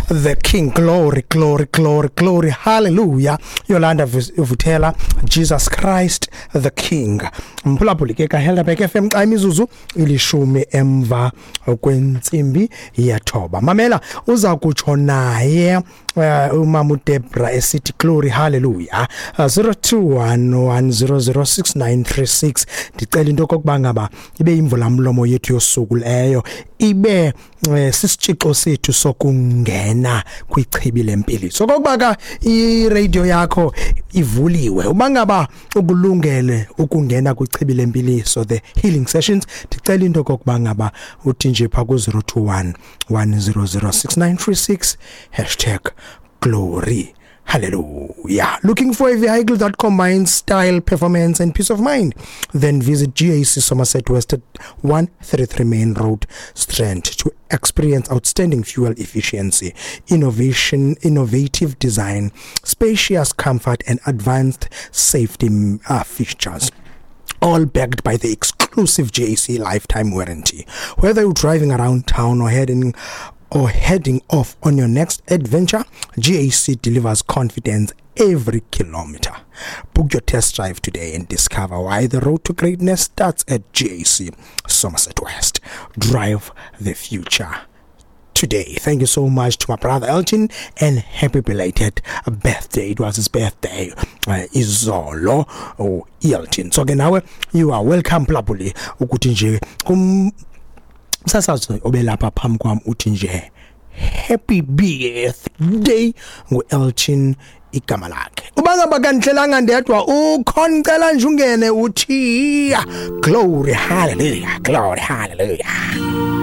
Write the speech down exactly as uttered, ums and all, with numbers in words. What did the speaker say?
the King. Glory, glory, glory, glory, hallelujah. Yolanda Vuthela, Jesus Christ the King. Mphulaphuli ke kaHelderberg F M xa imizuzu ilishumi emva kwentsimbi yethoba. Mamela, uza kutsho naye uh, umama uDebra esithi glory hallelujah, uh, zero two one one zero zero six nine three six. Ndicela into okokuba ngaba ibe imvula mlomo yethu yosuku leyo, ibe eh, sisitshixo sethu sokungena kwichibi lempiliso. Okokuba ka iradio yakho ivuliwe, uba ngaba ukulungele ukungena kwichibi lempiliso, the healing sessions, ndicela into okokuba ngaba uthi nje pha ku zero two one one zero zero six nine three six hashtag glory hallelujah. Looking for a vehicle that combines style, performance, and peace of mind? Then visit G A C Somerset West at one thirty-three Main Road, Strand, to experience outstanding fuel efficiency, innovation, innovative design, spacious comfort, and advanced safety uh, features, all backed by the exclusive G A C lifetime warranty. Whether you're driving around town or heading or heading off on your next adventure, G A C delivers confidence every kilometer. Book your test drive today and discover why the road to greatness starts at G A C Somerset West. Drive the future today. Thank you so much to my brother Elton and happy belated birthday. It was his birthday uh, izolo, oh Elton. So ke nawe you are welcome, Plapuli, ukuthi nje kum msasazi obelapha phambi kwami uthi nje happy birthday. Ngu-Elton igama lakhe. Uba ngaba kandihlelanga ndedwa ukhona, cela nje ungene uthi glory hallelujah, glory hallelujah.